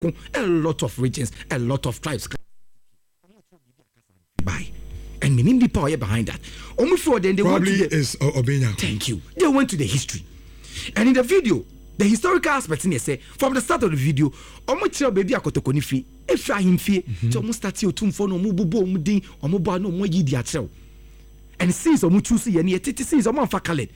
A lot of regions, a lot of tribes by and menim nipa ɔyɛ behind that. Ɔmo fi hɔ, then they went Probably to the is Obenya. Thank you. They went to the history, and in the video, the historical aspect ni sɛ from the start of the video, ɔmo kyerɛ baabi a Kɔtɔkɔ ne fi efiri, ahemfie tí ɔmo start Otumfoɔ na ɔmo bobɔ ɔmo din, ɔmo bɔ ano, ɔmo ayi di akyerɛw, and since ɔmo choose yɛ ni yɛ tete, since ɔmo anfa coloured,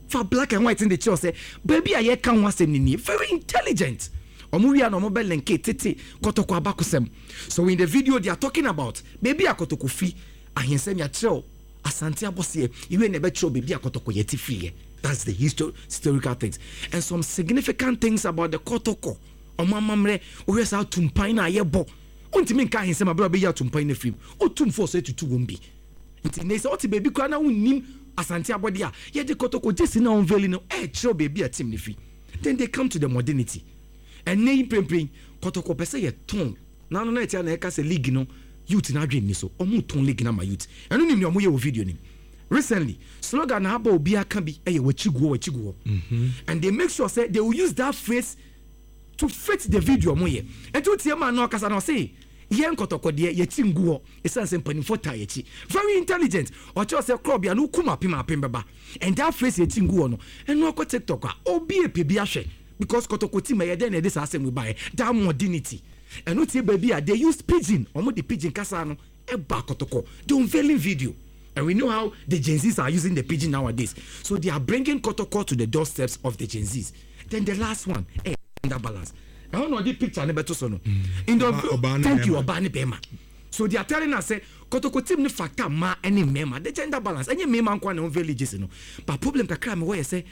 fa black and white ne de kyerɛw sɛ baabi a yɛka ho asɛm ni nie. Very intelligent. Ɔmo wia na ɔmo bɛ link tete Kɔtɔkɔ abakosɛm. So in the video, they are talking about baabi a Kɔtɔkɔ fi, ahensɛm yɛakyerɛw Asante abɔseɛ iwe na ɛbɛkyerɛw baabi a Kɔtɔkɔ yɛte firi yɛ. That's the historical things and some significant things about the Kɔtɔkɔ. Ɔmo amammerɛ, wohwɛ saa atumpan no a yɛbɔ, wontumi nka ahensɛm abere a wobɛyi atumpan no afiri mu. Otumfoɔ sɛ tutu wɔm bi nti ne sɛ wote baabi koraa na wonnim Asante abɔde a yɛde Kɔtɔkɔ gyesi na unveiling no ɛɛkyerɛw baabi a team no fi. Then they come to the modernity. Ɛnɛ yi mprempren Kɔtɔkɔ pɛ sɛ yɛtɔn nano na ɛtia na ɛka sɛ league no, youth no adwene ni so. Ɔmo tɔn league no ama youth. Ɛno nim nea ɔmo yɛ wɔ video nim. Recently, slogan na aba, obi aka bi ɛyɛ "Wɔakyi guɔ, wɔakyi guɔ," and they make sure say they will use that phrase to fit the video ɔmo yɛ. Ɛnti wotie maa na ɔkasa na ɔse yɛn Kɔtɔkɔ deɛ, yɛkyi ngu hɔ ɛsiane sɛ mpanimfoɔ taa yɛkyi. Very intelligent. Ɔkyerɛ sɛ korɔbea no wokum apem apem bɛba, and that phrase "yɛkyi ngu hɔ" no, ɛno akɔ TikTok a, obi epɛ bi ahwɛ because Kɔtɔkɔ team ɛyɛ dɛn na ɛde saa asɛm yi baeɛ, that modernity. Ɛno tie baabi a they use pidgin, ɔmo de pidgin kasa no ɛba Kɔtɔkɔ, the unveiling video, and we know how the Gen Zs are using the pidgin nowadays, so they are bringing Kɔtɔkɔ to the doorsteps of the Gen Zs. Then the last one, gender balance. Ɛhɔ na ɔde picture ne bɛto so no in the ɔbaa ne Thank you. bɛrima. Ɔbaa ne bɛrima. So they are telling us say Kɔtɔkɔ team ne factor mmaa ne mmarima, the gender balance. Ɛnyɛ mmarima nko na unveil jersey no, but problem kakra mi wɔ yɛ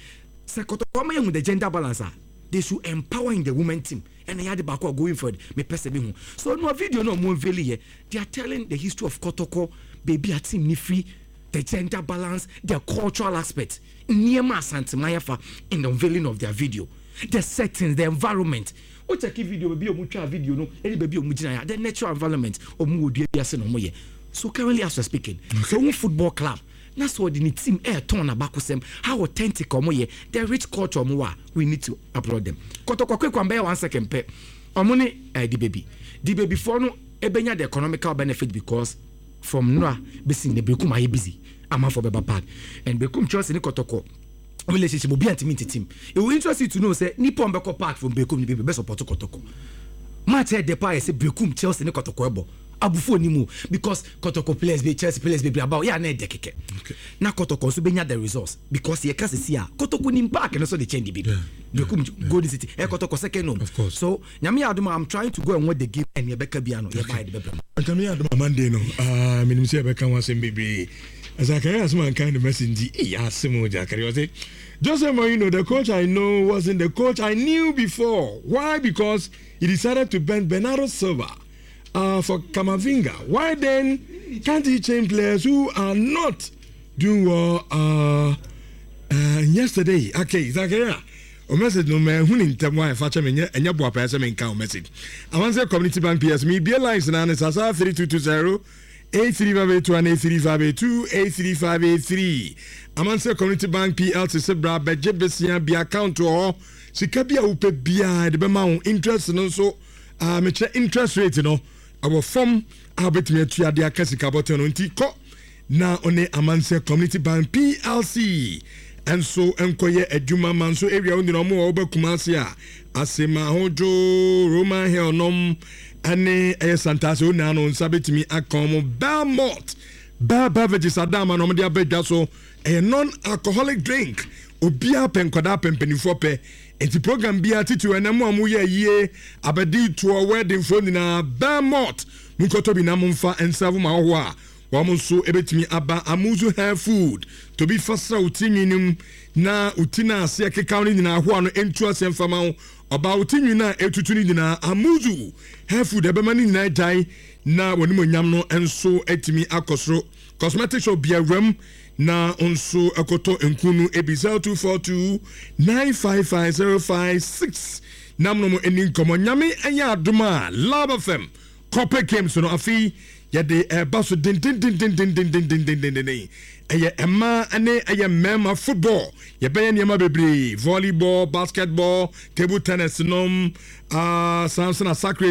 sɛ Kɔtɔkɔ ama yɛn hu the gender balance a, they should empower in the women team. Ɛna yɛ ade baako a going forward mepɛ sɛ mi hu so no video no ɔmo unveil yɛ, they are telling the history of Kɔtɔkɔ, baabi a team ne firi, the gender balance, the cultural aspect, nneɛma Asanteman yɛfa in the unveiling of their video, the settings, the environment. O check video, baabi a ɔmo twa video no ɛne baabi a ɔmo gyina yɛ, the natural environment, ɔmo wɔ dua bi ase na ɔmo yɛ. So currently as we are speaking, so ohun football club na sɛ ɔde ne team ɛɛtɔn n'abakosɛm, how authentic ɔmo yɛ, the rich culture ɔmo wɔ a, we need to applaud them. Kɔtɔkɔ quick one, bɛyɛ 1 second pɛ. Ɔmo ne di baby foɔ no ebenya the economical benefit because from nora besi ne Berekum ayɛ busy, amanfoɔ bɛba park, and Berekum Chelsea ne Kɔtɔkɔ relationship, obi antimi ntetim. It will interest you to know say nipa ɔmbɛkɔ park from Berekum ni bebree bɛ support Kɔtɔkɔ. Match ɛ depa yɛ sɛ Berekum Chelsea ne Kɔtɔkɔ ɛbɔ abufuo ni mu because Kɔtɔkɔ players bi, Chelsea players bebree aba yɛ ana ɛdɛ kɛkɛ na Kɔtɔkɔ nso bɛnya the results because yɛ ka sisi a Kɔtɔkɔ ni park no so de kyɛn de bi Berekum Golden City ɛ Kɔtɔkɔ second home. Of course. So Nyame yɛ adom a, I'm trying to go and watch the game and yɛbɛka bia no yɛba yɛde bɛbrɛ mu. Nyame yɛ adom a, Monday no, ah, menim sɛ yɛbɛka ho asɛm bebree. Zakaria asɛm anka ne message nti ɛyɛ asɛm o. Zakaria ɔse, "Jose Mourinho, the coach I know wasn't the coach I knew before. Why? Because he decided to bench Bernardo Silva for Camavinga. Why then can't he change players who are not doing well yesterday?" Okay, Zakaria, o message no mɛ hu ne ntɛm wa ɛfa kyɛ me. Nyɛ ɛnyɛ boa pɛɛ sɛ menka o message. Amansɛ Community Bank PS mebie lines na ne sasa 3220 83581, 83582, 83583. Amansɛ Community Bank PLC sɛ bra bɛgye besia bi account wɔ hɔ. Sika bi a wopɛ biara de bɛma wo. Interest no nso, mekyerɛ interest rate no ɛwɔ fam a wobɛtumi atua de aka sika bɔtɔ no. Nti kɔ na ɔne Amansɛ Community Bank PLC ɛnso nkɔyɛ adwuma ma nso area wo nyina. Ɔmo wɔ wobɛkuma ase a, Asema Ahodwo, Roman Hill nom ɛne ɛyɛ Santase onaa no nsa bɛtumi aka ɔmo. Belmont Bell Beverages adama na ɔmo de aba dwa so. Ɛyɛ non alcoholic drink. Obiara pɛ, nkwadaa pɛ, mpanimfoɔ pɛ. Nti program biara titiri ɛnam mu a moyɛ yie, abɛdi toɔ, wedding foɔ nyinaa, Belmont monkɔtɔ bi na momfa nsa ma ahɔhoɔ a wɔn nso bɛtumi aba. Amuzu Hair Food tobi fasra wo ti nwi no na wo ti no aseɛ keka no nyinaa ahoa no ntu aseɛ mfama wo. Ɔbaa, wo ti nwi no a ɛtutu no nyinaa, Amuzu Hair Food ɛbɛma no nyinaa gyae na wɔn onyam no nso atumi akɔ soro. Cosmetic shop biawuram na nso ɛkɔtɔ nku no ebi. 0242 955056 nam no mo ani nkɔmmɔ. Nyame ɛyɛ adom a, Love FM corporate games no afei. Yɛde ɛba so dendendendendendendendendenden. Ɛyɛ mmaa ne ɛyɛ mmarima football. Yɛbɛyɛ nneɛma bebree: volleyball, basketball, table tennis nom, Samson Asakre.